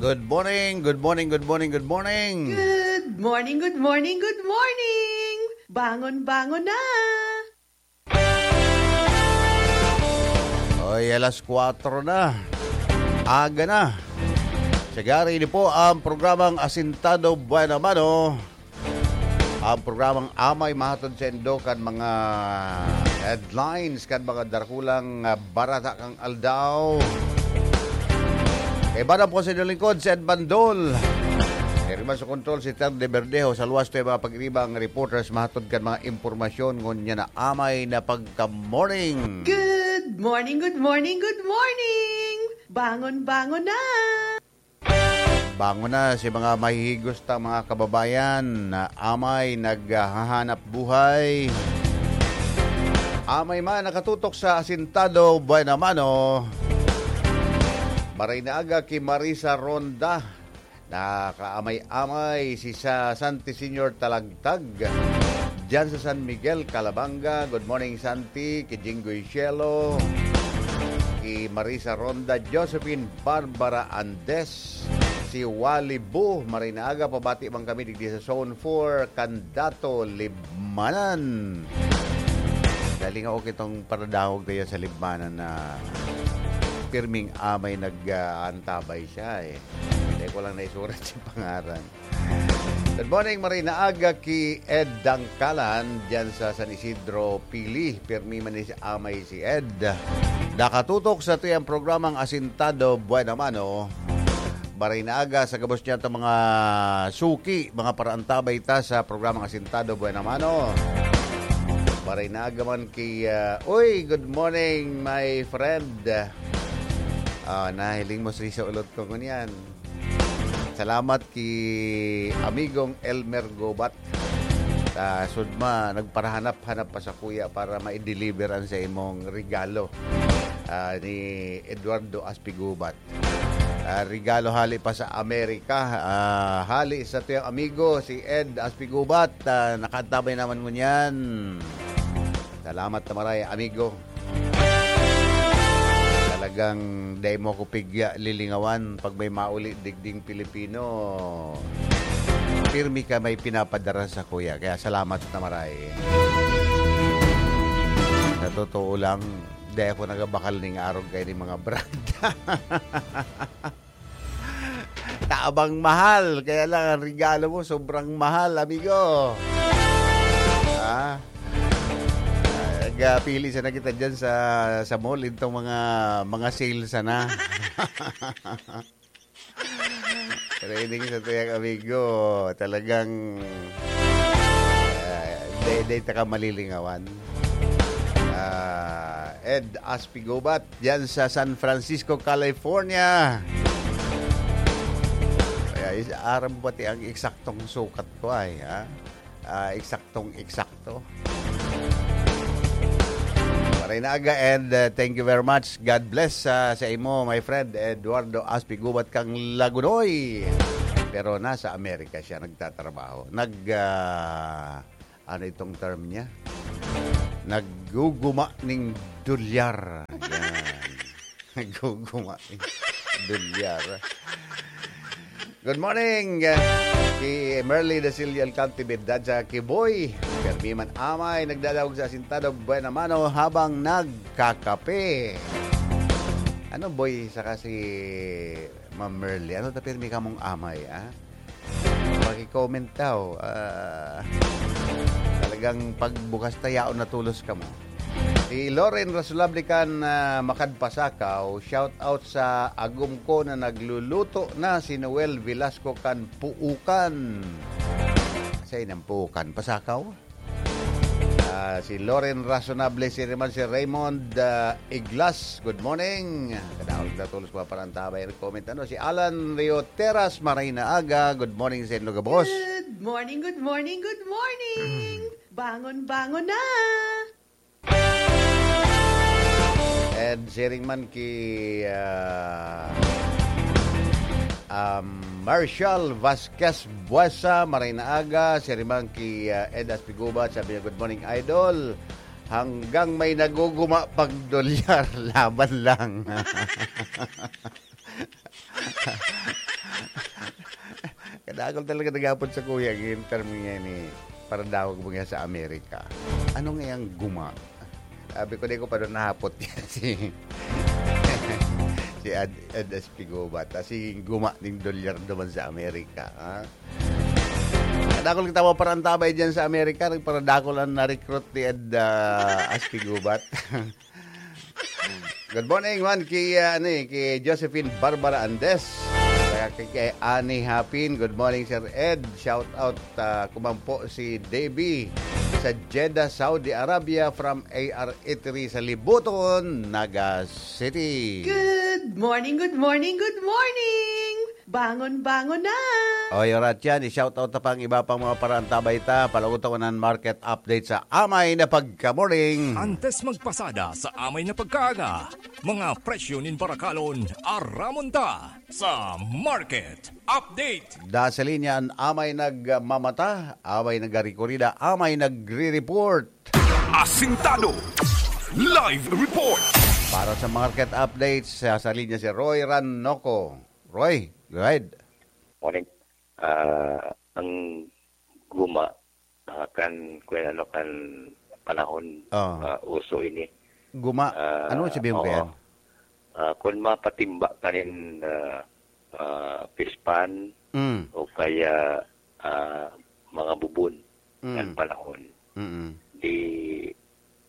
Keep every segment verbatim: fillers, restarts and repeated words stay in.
Good morning, good morning, good morning, good morning. Good morning, good morning, good morning. Bangon, bangon na. Oy, alas kwatro na. Aga na. Sagari, ini po ang programang Asintado Buena Mano. Ang programang amay mahatod sa indo kan mga headlines, kan mga darakulang, ah, barata kan aldaw. Kaiba na po sa inyong lingkod, si Ed Bandol. Iri man sa kontrol, si Ter de Verdejo. Sa luwas to yung mga pag-iriba ang reporters mahatod kan mga impormasyon. Ngunyan na amay na pagka-morning. Good morning, good morning, good morning! Bangon, bangon na! Bangon na si mga mahihigos ta mga kababayan na amay naghahanap buhay. Amay man nakatutok sa Asintado Buena Mano. Maray na aga ki Marisa Ronda. Nakaamay-amay si sa Santi Senior Talagtag. Diyan sa San Miguel, Calabanga. Good morning, Santi. Ki Jinggoy Cielo. Ki Marisa Ronda, Josephine Barbara Andes. Si Wally Bu, maray na aga, pabati man kami digdi sa Zone four, Candato, Libmanan. Dali nga okay itong paradangog tayo sa Libmanan na pirming amay nag-aantabay siya eh. Hindi ko lang naisurat si pangaran. Good morning, maray na aga ki Ed Dangkalan, diyan sa San Isidro, Pili. Pirmi man ni si Amay si Ed. Nakatutok sa tuyang programang Asintado Buena Mano. Maray na aga sa gabos niya itong mga suki, mga paraantabay ta sa programang Asintado Buena Mano. Maray na aga man ki, ah, uy, good morning, my friend. Ah, nahiling mo si sa ulot ko ngunyan. Salamat ki amigong Elmer Gobat. Sa Sudma, nagparahanap-hanap pa sa kuya para ma-deliver an sa imong regalo, ah, ni Eduardo Aspigubat. Ah, regalo hali pa sa Amerika. Ah, hali sa tuyang amigo, si Ed Aspigubat. Ah, nakaantabay naman ngunyan. Salamat na maray, amigo. Talagang dai mo ako pigya lilingawan pag may mauli digding Pilipino. Pirmi ka may pinapadara sa kuya, kaya salamat na maray. Sa totoo lang, dai ako nagabakal ning arog kay ni mga brand. Tabang mahal, kaya lang ang regalo mo sobrang mahal, amigo. Ah, nagpili sana kita dyan sa, sa mall, itong mga, mga sale sana. Pero ini sa tuyang amigo, talagang, ah, day, day taka malilingawan. Ah, Ed Aspigobat, diyan sa San Francisco, California. Kaya is-, aram mo pati ang eksaktong sukat ko ay, ha? Ah, eksaktong eksakto. Maray na aga and, uh, thank you very much. God bless, uh, sa imo, my friend Eduardo Aspigubat kang Lagunoy. Pero nasa Amerika siya nagtatrabaho. Nag, uh, ano itong term niya? Nagguguma ning dolyar. Yan. Nagguguma ning dolyar. Good morning, uh, ki Merly de Silio Alcantibid, dyan sa Kiboy. Permi man amay, nagdadawag sa asintado, buena mano habang nagkakape. Ano, boy, saka si Ma'am Merly? Ano ta pirmi kamong amay, ah? Paki-comment daw. Ah, talagang pagbukas ta, yaon na tulos kamo. Si Loren Rasulable kan, ah, Makad Pasakaw, shout out sa agom ko na nagluluto na si Noel Velasco kan Puukan. Sa inang Puukan, Pasakaw? Ah, si Loren Rasulable, si Riman, si Raymond, ah, Iglas. Good morning. Kadahol na tulos pa parang tabay comment. Ano, si Alan Rio Teras, maray na aga. Good morning sa inyo, gabos. Good morning, good morning, good morning. Bangon, bangon na. And siring man ki, ah, um, Marshall Vasquez Buesa, maray na aga. Siring man ki, ah, Ed Aspigubat, sabi niya, "Good morning, idol. Hanggang may naguguma pag dolyar, laban lang." Ako talaga nagapot sa kuya, ang term niya ni, para daw mo sa Amerika. Ano nga yung guma? Sabi ko, "Di ko pa doon nahapot yan." Si, si Ad, Ed Espigobat. Ah, si guma ning dolyar naman sa Amerika, ha? Dakul kita mo parantabay dyan sa Amerika. Nagparadakol ang na-recruit ni Ed, ah, Espigobat. Good morning, man, kay, ah, ano eh, kay Josephine Barbara Andes. Saka kay, kay Annie Hapin. Good morning, Sir Ed. Shout out, ah, kumampo si Davey sa Jeddah, Saudi Arabia, from A R Eatery sa Libuton, Naga City. Good morning, good morning, good morning! Bangon, bangon na! Oy, orat yan. I-shoutout ta pa ang iba pang mga paraantabay ta. Palagot ako ng market update sa amay na pagkamuring. Antes magpasada sa amay na pagkaaga, mga presyo nin barakalon, aramon ta sa market update. Da sa linya an amay nagmamata, amay nagarikorida, amay nagre-report. Asintado. Live report. Para sa market updates, sa, sa linya si Roy Ranoco. Roy, go ahead. Morning. Ah, ang guma, ah, kan, kung ano, kan panahon, Oo. ah, uso ini. Guma, Ah, ano sabihin ko oo. yan? Ah, kung mapatimba kanin, ah, ah, pispan Mm. o kaya, ah, mga bubon Mm. kan panahon, Mm. di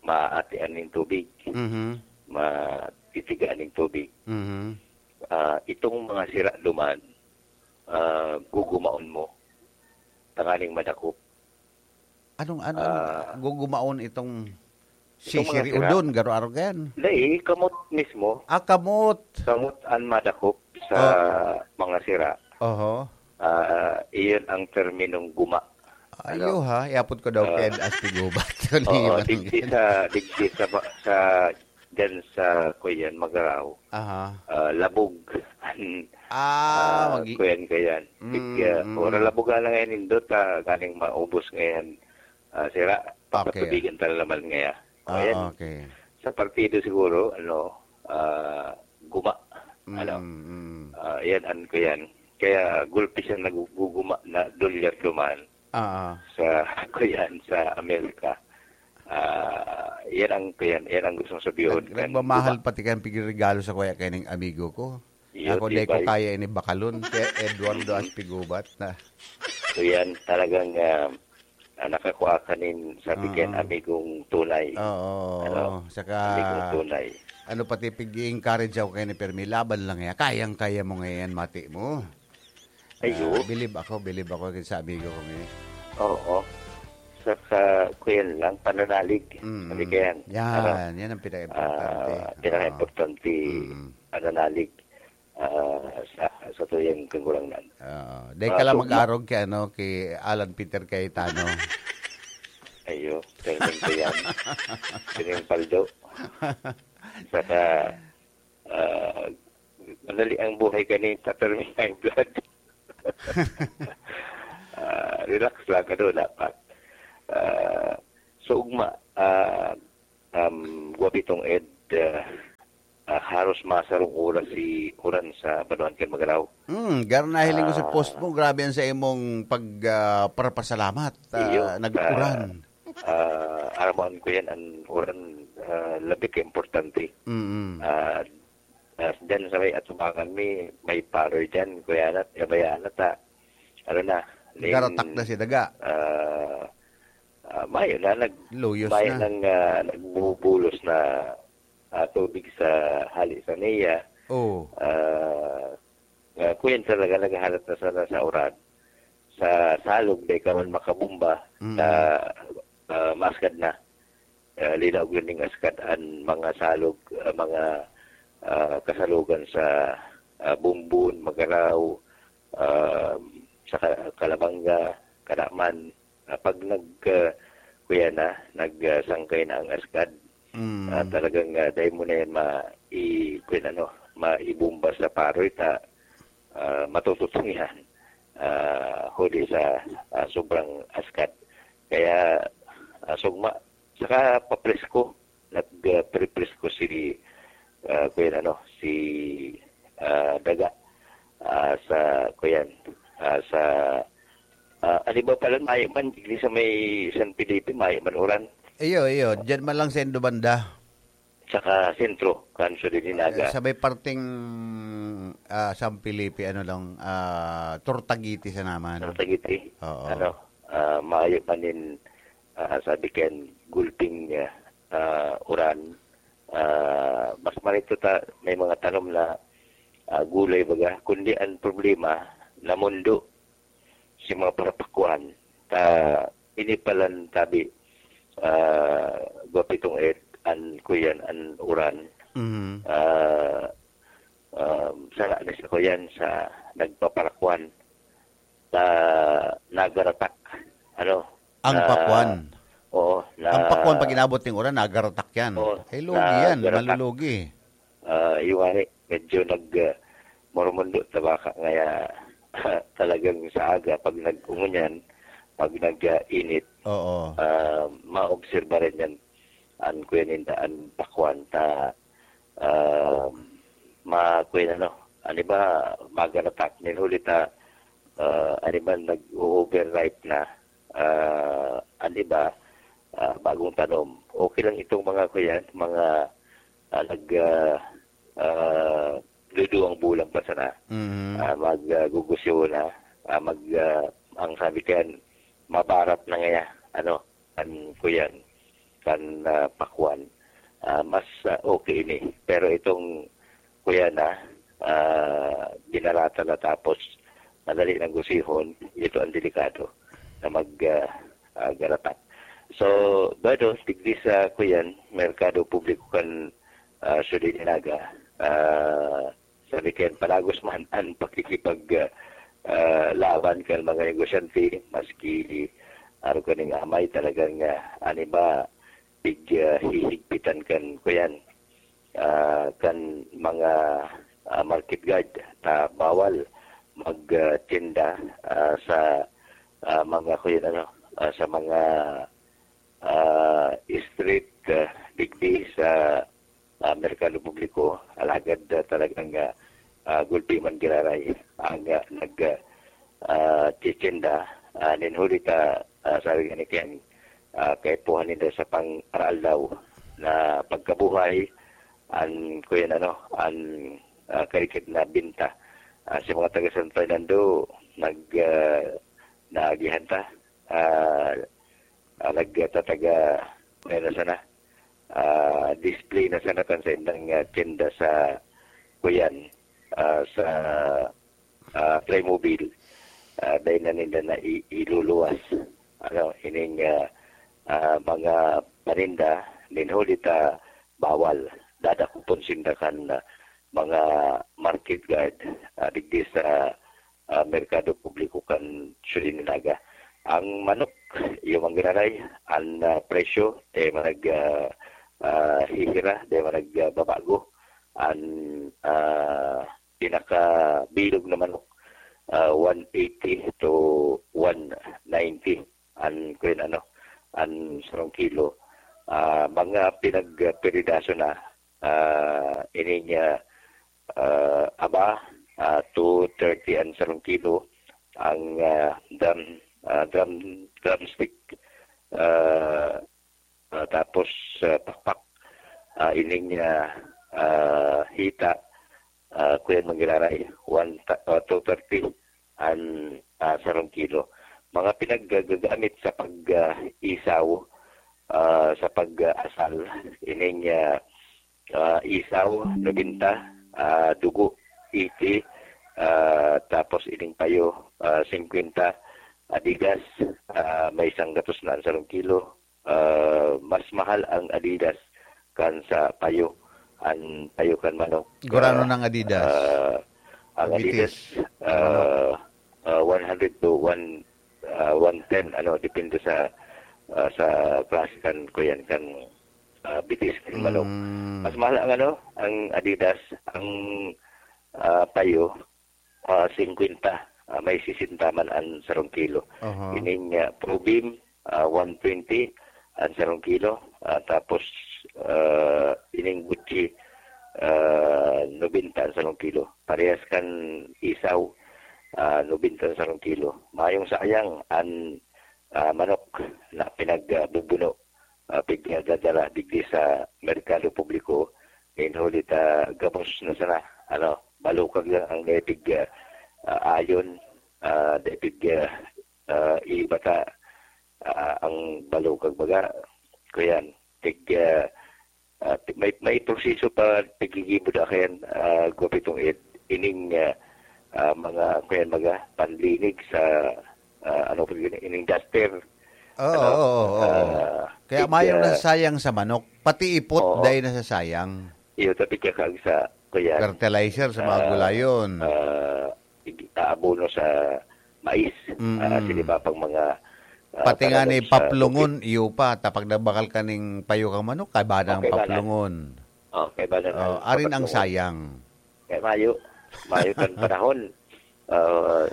maatian ning tubig, Mhm. matitigaan ning tubig. Mhm. Ah, itong mga sira duman, ah, gugumaon mo, tanganing madakop. Anong, ano, ano, Ah. gugumaon itong Itong mga sisiriudon, sira. garo-aro yan? Dai, kamot mismo. Ah, kamot. Kamot ang madakop sa Ah. mga sira. Oho. Ah, iyon ang terminong guma. Ayo Ano? ha, iapot ko daw Ah. kay Ed Astigobat. Oo, Ano yun? digdi sa, digdi sa, ba-, sa, dyan sa, kuyan, Magaraw. Aha. Ah, labog. Ah, Ah, magi- kuyan, kuyan. Mm, Big, ah, mm. ora labog na lang yan, indot, ah, ganing maubos ngayon. Ah, sira, Okay. papatubigan ta na naman ngayon. Ah, Ayan. okay. Sa partido siguro, ano, ah, guma. Ano? Mm, mm. Ah, yan, ano ko yan. Kaya gulpi siya naguguma na dolyar duman Ah, ah. sa, ko yan, sa Amerika. Ah, yan ang, ko yan, yan ang gusto kong sabihin. Nag-, Kan nagmamahal guma. pati kayang pigregalo sa kuya kay ning amigo ko. Iyo, Ako, di di ko ba? kaya ini bakalon. Kaya Eduardo Mm. Aspigubat na. So yan, talagang, ah, ah, nakakuha ka nin, sabi Ah, kaya, ah. amigong tunay. Oo, Ano? oo. Saka, Amigong tunay. ano, pati pig-i-encourage ako kay ni Fermi, laban lang yan. Kayang-kaya mo ngayon, mati mo. Ay, Ah, oo. bilib ako, bilib ako sa amigo ko ngayon. Oo. Saka, kuyan lang, pananalig. Mm. Sabi kaya, Yan, ano? yan ang pinaka-importante. Ah, pinaka-importante, Oo. Mm. pananalig, ah, sa, sa tuyang kagurangnan. Oo. Dahil Ah, ka lang so, mag-arog kay, ano, kay Alan Peter Cayetano. Ayo, training ko yan. Training paldo. Saka, ah, madali ang buhay kanina, pero may high blood. Ah, relax lang, ano, dapat. Ah, so, ugma, ah, um, Guapitong Ed, ah, ah, haros masarong oras si uran sa Banwaan kan Magaraw. Hmm, gar nahiling ko sa Ah. post mo, grabe yan sa imong pag, ah, parapasalamat, ah, Iyo, nag-uran. ah, ah, aramaan ko yan, ang uran, ah, labi ka importante. Mm-mm. Ah, ah, dyan sa may atubangan mi, may paroy dyan, kuya na, yabayaan na ta. Ano na, ning, Garatak na si Daga. ah, ah, mayo na, nag-, Luyos mayo na. nang, ah, nagbubulos na, ah, tubig sa hali sa niya. Oo. Ah, ah, kuyan talaga, naghahalat na sana sa uran. Sa salog, di ka man makabumba Mm. sa, ah, maaskad na. Ah, linaog yun ning askad an mga salog, ah, mga, ah, kasalugan sa, ah, Bumbon, Magaraw, ah, sa Ka-, Calabanga, Caraman. Ah, pag nag, ah, kuya na, nag, ah, sangkay na ang askad, Mm. ah, talagang, ah, dahil mo na yan ma-, i-, kuya na, no, maibumba sa paroy ta, ah, matututong yan, ah, huli sa, ah, sobrang askad. Kaya, ah, sugma, saka papresko, nag, ah, prepresko si, ah, kuya, ano, si, ah, Daga, ah, sa, kuyan, ah, sa, Ah, ano ba pala, mayo man, digdi sa may San Felipe, mayo man uran. Iyo, iyo. Diyan man lang sa Indobanda. Saka sentro, kan Sudin Naga. Sa may parteng, ah, San Felipe, ano lang, ah, Tortagiti sa naman. Tortagiti. Oo. Ano, ah, mayo man nin, ah, sabi kan gulping, ah, uran. Ah, mas marito ta, may mga tanom na, ah, gulay baga. Kundi ang problema, namundo si mga parapakwan. Ta, ini palan tabi, ah, gwapitong et, an kuyan, an uran. Mhm. Ah, um, sala na sa kuyan, sa nagpaparakwan. Ta, nagaratak. Ano? Ang Na, pakwan. oo, na Ang pakwan, pag inabot ng uran, nagaratak yan. Oo, Eh, lugi yan, nagaratak. malulugi. Ah, iwani, medyo nag, ah, murumundo ta baka ngaya talagang sa aga, pag nag-umunyan, pag nag, ah, init, Oo. ah, maobserba rin yan. An kuya ninda, an pakwan ta, ah, ma-, kuya na, no? Ano ba, magaratak, nin huli ta, ah, ano ba, nag-o-overripe na, ah, ano ba, ah, bagong tanom. Okay lang itong mga, kuya, mga, ah, nag, ah, ah, duduwang bulan pa sana. Mhm. Ah, mag, ah, gugusyo na, ah, mag, ah, ang sabi kan, mabarat na ngaya, ano, kan kuyan, kan, ah, pakwan. Ah, mas, ah, okay ini. Pero itong kuyan na, ah, binarata na tapos madali nang gusihon, ito ang delikado na mag, ah, ah, garatak. So, bado, digdi sa kuyan, merkado publiko kan, ah, Sudin Naga, ah, sabi kan palagos man an pakikipag, ah, ah, laban kan mga negosyante, maski arog kaning amay talagang, ah, ano ba, pig, ah, hihigpitan kan kuyan, ah, kan mga, ah, market guard ta bawal mag, ah, tinda, ah, sa, ah, mga kuyan, ano, ah, sa mga, ah, street, ah, digdi sa, ah, merkado publiko, alagad, ah, talagang, ah, ah, gulpi man giraray ang, ah, nag, ah, ah, titinda, ah, nin huli ta, ah, sabi nga ni Ken, ah, kaipuhan ninda sa pang-araaldaw na pagkabuhay, an, kuyan ano, an, ah, karikid na binta. Ah, sa mga taga San Fernando, nag, ah, naagihan ta, ah, ah, nagtataga, ano na sana, ah, display na sana kan sa indang, ah, tinda sa kuyan, ah, sa, ah, Playmobil. Ah, dahil na ninda na i-, iluluwas. Ano, ining, ah, ah, mga paninda, nin huli ta bawal. Dadakopon sinda kan, ah, mga market guard, ah, digdi sa, ah, merkado publiko kan Sudin Naga. Ang manok, iyo man giraray, an, ah, presyo, eh, manag, ah, ah, hihira, di manag, ah, babago. An, ah, pinakabilog na manok, ah, one eighty to one ninety an, kuyan ano, an sarong kilo. Ah, mga pinagpiridaso na, ah, ining, ah, ah, aba, ah, two thirty an sarong kilo, ang, ah, drum, ah, drum, drumstick, ah, ah, tapos, ah, pakpak, ah, ining, ah, ah, hita, ah, kuyan man giraray, one ta-, ah, two thirty an, ah, sarong kilo. Mga pinaggagamit sa pag, ah, isaw, ah, sa pag, ah, asal, ining, ah, ah, isaw, nobenta, ah, dugo, eighty, ah, tapos ining payo, ah, singkwenta, Adidas, ah, may isang gatos na an sarong kilo. Ah, mas mahal ang Adidas kan sa payo, an payo kan manok. Gurano Ah, nang Adidas? ah, ang Bitis. Adidas, Ang manok. ah, ah, one hundred to one, ah, one ten, ano, depende sa, ah, sa klase kan, kuyan, kan, ah, bitis kan manok. Mm. Mas mahal ang, ano, ang Adidas, ang, ah, payo, ah, singkwenta, ah, may sisenta man an sarong kilo. Aha. Ining, ah, Probeam, ah, one twenty an sarong kilo, ah, tapos, ah, ining Gucci, ah, nobenta an sarong kilo. Parehas kan isaw, ah, nobenta sa sarong kilo. Mayong sayang an, ah, manok na pinagbubuno, ah, pigdadala digdi sa merkado publiko, kaya huli ta gabos na sana, ano, balukag lang ang dai pig, ah, ah, ayon, ah, dai pig, ah, ah, ibata, ah, ang balukag baga. Kuyan, tig, ah, ah, may, may proseso pa paggigibo da kayan, ah, Gopitong Ed, ining, ah, ah, mga, kuyan, mga panlinig sa, ah, ano po yun, ining duster. Oo, Ano? oo, oo. Ah, Kaya tig, mayong ah, nasasayang sa manok, pati ipot Oo. dahil nasasayang. Iyo, tapi ka kag sa, kuyan. Fertilizer sa mga Ah, gulayon. ah, ig-, aabono sa mais, Mm. ah, siniba pang mga, ah, Pati nga tanaman ni sa paplungon, tubig. iyo pa, tapag nagbakal ka ning payo kang manok, kaiba na ang Okay, bala. paplungon. Oh, kaiba na Oh, ang arin ang paplungon. sayang. Kaya mayo, mayo kan panahon. Ah,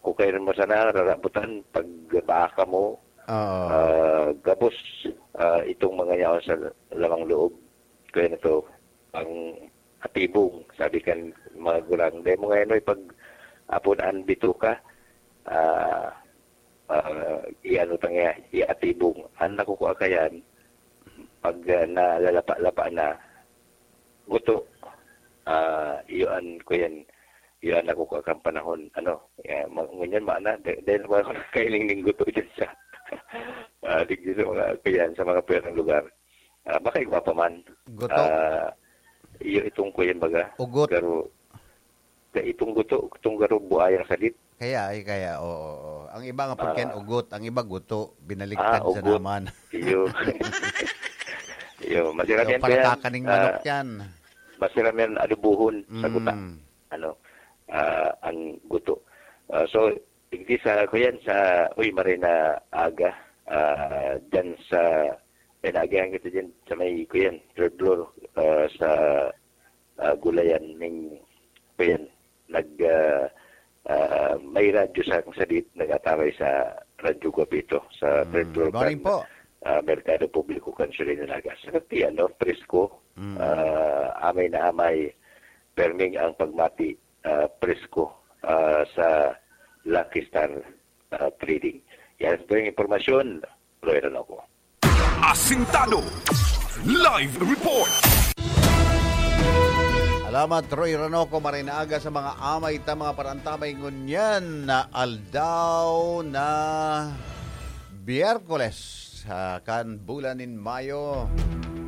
kung kayo mo sana, rarabutan, pag baka mo, Oo. ah, gabos, ah, itong mga yaon sa lamang loob. Kaya na to, ang atibong, sabi kan mga gurang. Dahil mo ngayon, pag apon an bituka, ah, ah, iano ta nga, iatibong. Ang nakukuha kayan, pag, ah, nalalapa-lapa na, guto, ah, iyo an, kuyan, iyo an nakukuha kang panahon, ano, eh, ma-, ngunyan, maana, de-, dahil wala ko nakailing ning guto dyan sa, ah, digdi sa mga, kuyan, sa mga pwerang lugar. Ah, baka igwa pa man. Guto. Ah, iyo itong kuyan baga. Ugot. Pero, ka itong guto, itong garo buayang sadit. Kaya, ay, kaya, oo, oo. Ang iba nga pagkain Ah. ugot, ang iba guto, binaliktad Ah, sa ugot. naman. Iyo. Iyo, masarap So, yan, para kuyan. kakaning manok Ah, yan. masarap yan, adobohon sa Mm. guta. Ano, ah, ang guto. Ah, so, digdi sa, kuyan, sa, uy, maray na aga, ah, dyan sa, may naagihan kita dyan sa may, kuyan, third floor, ah, sa, ah, gulayan ning, kuyan, nag, ah, ah, may radyo sa akong sadit, nag-atabay sa Radyo Guapito, sa Mm, third floor good morning kan, po. ah, Merkado Publiko kan Siyudad nin Naga. Sa kapiyan, no, presko, Mm. ah, amay na amay, perming ang pagmati, ah, presko, ah, sa Lucky Star, ah, Trading. Yan po yung impormasyon, Roy Ranoco. Asintado. Live report. Salamat, Roy Ranoco. Maray na aga sa mga amay ta, mga parantabay ngunyan na aldaw na Biyerkules, ah, kan bulan nin Mayo.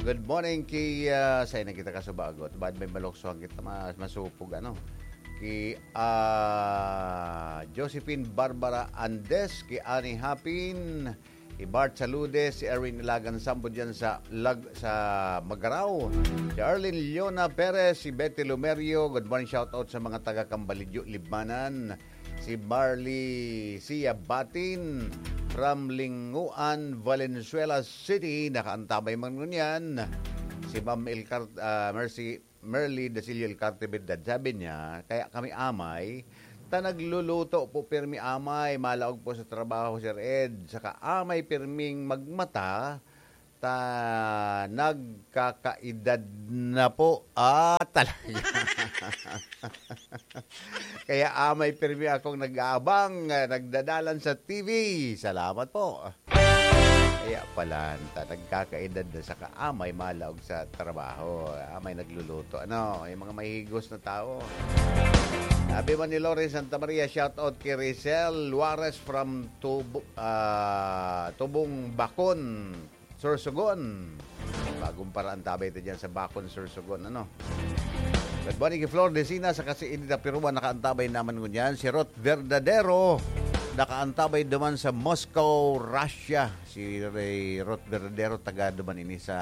Good morning ki, ah, sa inang kita kasubagot. Baad may maluksohan kita, mas masupog, ano? Ki, ah, Josephine Barbara Andes, ki Annie Hapin, si Bart Saludes, si Erwin Ilagan Sambo dyan sa Lag-, sa Magarao. Si Arlene Leona Perez, si Betty Lumerio. Good morning, shout out sa mga taga Cambalidyo, Libmanan. Si Marley Sia Batin from Linguan, Valenzuela City, nakaantabay man ngunyan. Si Ma'am Elcar-, ah, Mercy, Merly Dasilio Elcarte Berdad, sabi niya, "Kaya kami amay, ta nagluluto po pirmi amay, malaog po sa trabaho, Sir Ed, saka amay pirming magmata, ta nagkakaedad na po." Ah, talaga. Kaya amay pirmi akong nag-aabang, ah, nagdadalan sa T V. Salamat po. Kaya pala, ta nagkakaedad na saka amay malaog sa trabaho, amay nagluluto. Ano, yung mga mahihigos na tao. Sabi man ni Lawrence Santa Maria, shout out kay Rizal Juarez from Tubo-, ah, Tubong Bakon, Sorsogon. Bagong paraan tabay ta dyan sa Bakon, Sorsogon, ano? Good morning kay Flor Decina, sa kasi ini na Piruan, nakaantabay naman ngunyan. Si Ruth Verdadero, nakaantabay duman sa Moscow, Russia. Si Ray Ruth Verdadero, taga duman ini sa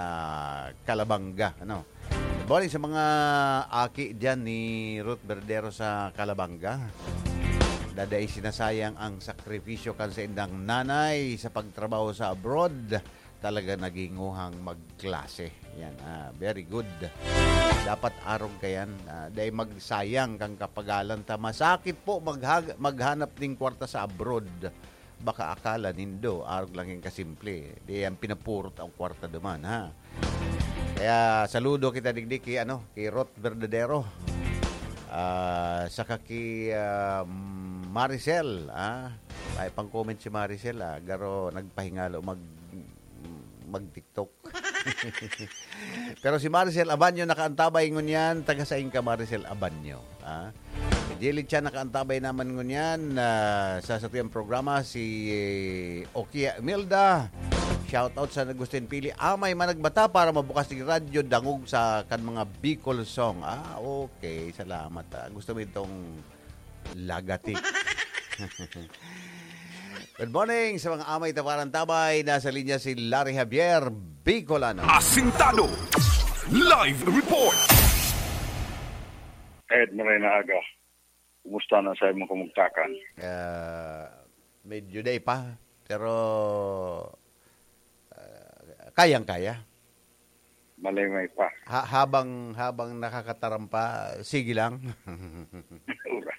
Calabanga, ano? Good morning sa mga aki dyan ni Ruth Verdadero sa Calabanga. Daday sinasayang ang sakripisyo kan sa indang nanay sa pagtrabaho sa abroad. Talaga naginguhang magklase. Yan, ah, very good. Dapat arog kayan. Ah, dai magsayang kang kapagalan ta. Masakit po maghag-, maghanap ning kwarta sa abroad. Baka akala nindo, arog lang yung kasimple. Di yan pinapurot ang kwarta duman, ha? Kaya saludo kita digdi ki, ano, ki Rot Verdadero. Ah, saka ki, ah, Maricel, ah. Ay, pang-comment si Maricel, ah. Garo, nagpahingalo mag, mag-TikTok. Pero si Maricel Abanyo nakaantabay ngunyan, taga sain ka, Maricel Abanyo, ah. Si Jelly Chan nakaantabay naman ngunyan, ah, sa satuyang programa, si, eh, Okia Imelda. Shout out sa Agustin Pili. Amay man nagbata para mabukas ni radyo, dangog sa kan mga Bicol song. Ah, okay. Salamat, ah. Gusto mo itong lagati. Good morning sa mga amay taparan tabay. Nasa linya si Larry Javier, Bicolano. Asintado. Live report. Ed, maray na aga. Kumusta na sa imong kamugtakan? Ah, medyo day pa, pero, ah, kayang-kaya. Malimay pa. Ha-, habang, habang nakakataram pa, sige lang. Ura.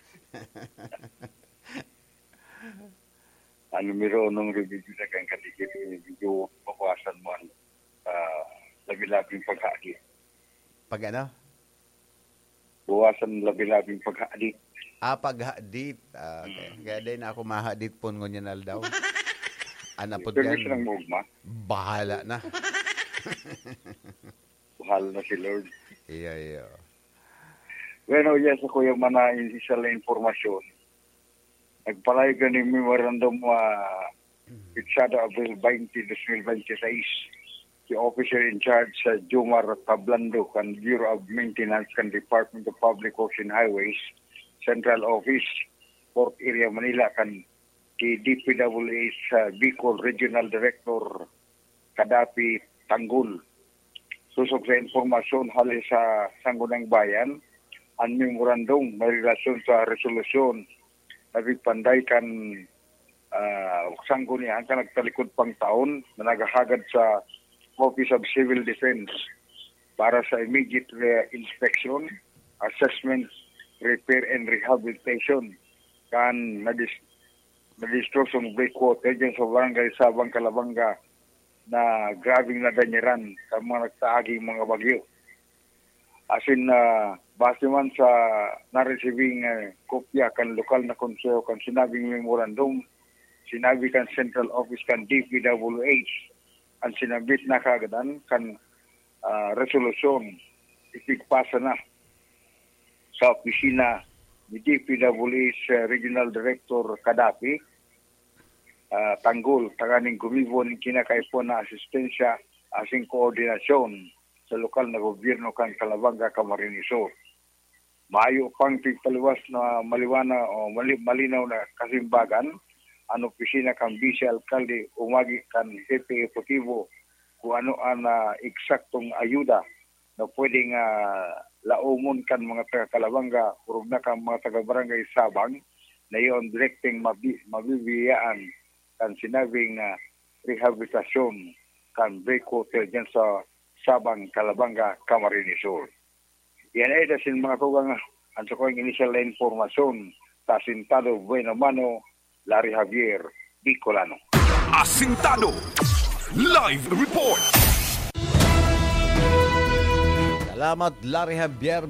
Ang numero unong remedyo na kan kadikit, medyo bawasan mo ang, ah, labi-labing paghagit. Pag ano? Bawasan labi-labing paghadit. Ah, paghadit. Ah, okay. Mm. Kaya din ako mahadit pon ngunyan aldaw. Ano po Pero dyan? Gusto nang maugma? Bahala na. Bahala na si Lord. Iya, iya. Bueno, yes, ako yung mga initial na impormasyon. Nagpalayag na yung memorandum, ah, Pitsada, Abril twenty, dos mil bente seis, si Officer in Charge sa Jomar Tablando kan Bureau of Maintenance kan Department of Public Works and Highways, Central Office, Port Area, Manila, kan si D P W H sa Bicol Regional Director Kadapi Tanggol. Sosog sa impormasyon hali sa Sangguniang Bayan, ang memorandum may relasyon sa resolusyon na pigpanday kan, ah, sanggunian kan nagtalikod pang taon na naghahagad sa Office of Civil Defense para sa immediate re-, inspection, assessment, repair and rehabilitation kan nadis-, na-destruction breakwater dyan sa Barangay Sabang, Calabanga, na grabeng nadanyaran sa mga nagtaaging mga bagyo. Asin, ah, base man sa naresibing, eh, kopya kan lokal na konseho kan sinabing memorandum, sinabi kan Central Office kan D P W H, ang sinabit na kaagadan kan, ah, resolusyon, ipigpasa na sa opisina ni D P W H Regional Director Kadapi, ah, Tanggol, tanganing gumibo nin kinakaipuhan na asistensya asin koordinasyon sa lokal na gobyerno kan Calabanga, Camarines Sur. Mayo pang pigpaliwas na maliwana o mali-, malinaw na kasimbagan, an opisina kan Bise Alkalde umagi kan Hepe Ehekutibo kung ano an, ah, eksaktong ayuda na pwedeng, ah, laomon kan mga taga Calabanga, orog na kan mga taga Barangay Sabang, na iyon direkteng mabi-, mabibiyaan kan sinabing, ah, rehabilitasyon kan breakwater dyan sa Sabang, Calabanga, Camarines Sur. Yan ay dasin mga tugang, ang sa kong initial na impormasyon sa Asintado Buena Mano, Larry Javier, Bicolano. Asintado Live Report. Salamat, Larry Javier